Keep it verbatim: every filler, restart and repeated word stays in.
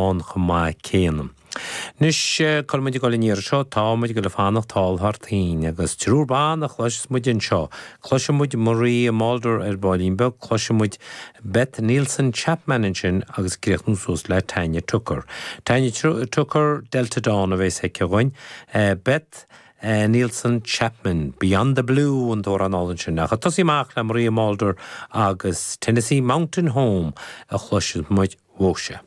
ann chomh maith céanna. Anois cá bhfuil muid ag dul an iarraidh seo tá muid ag dul ag fanacht thall thar toinn agus triúr ban a chloisfeas muid anseo. Cloisfidh muid Maria Muldaur ar baillín beag, cloisfidh muid Beth Nielsen Chapman ansin agus críochnú suas le Tanya Tucker. Tanya Tucker Delta Dawn a bheas aici dhúinn. Beth Uh, Nielsen Chapman, Beyond the Blue an t-amhrán sin ach tosaí amach le Maria Muldaur agus Tennessee Mountain Home a chloisfidh muid uaithe.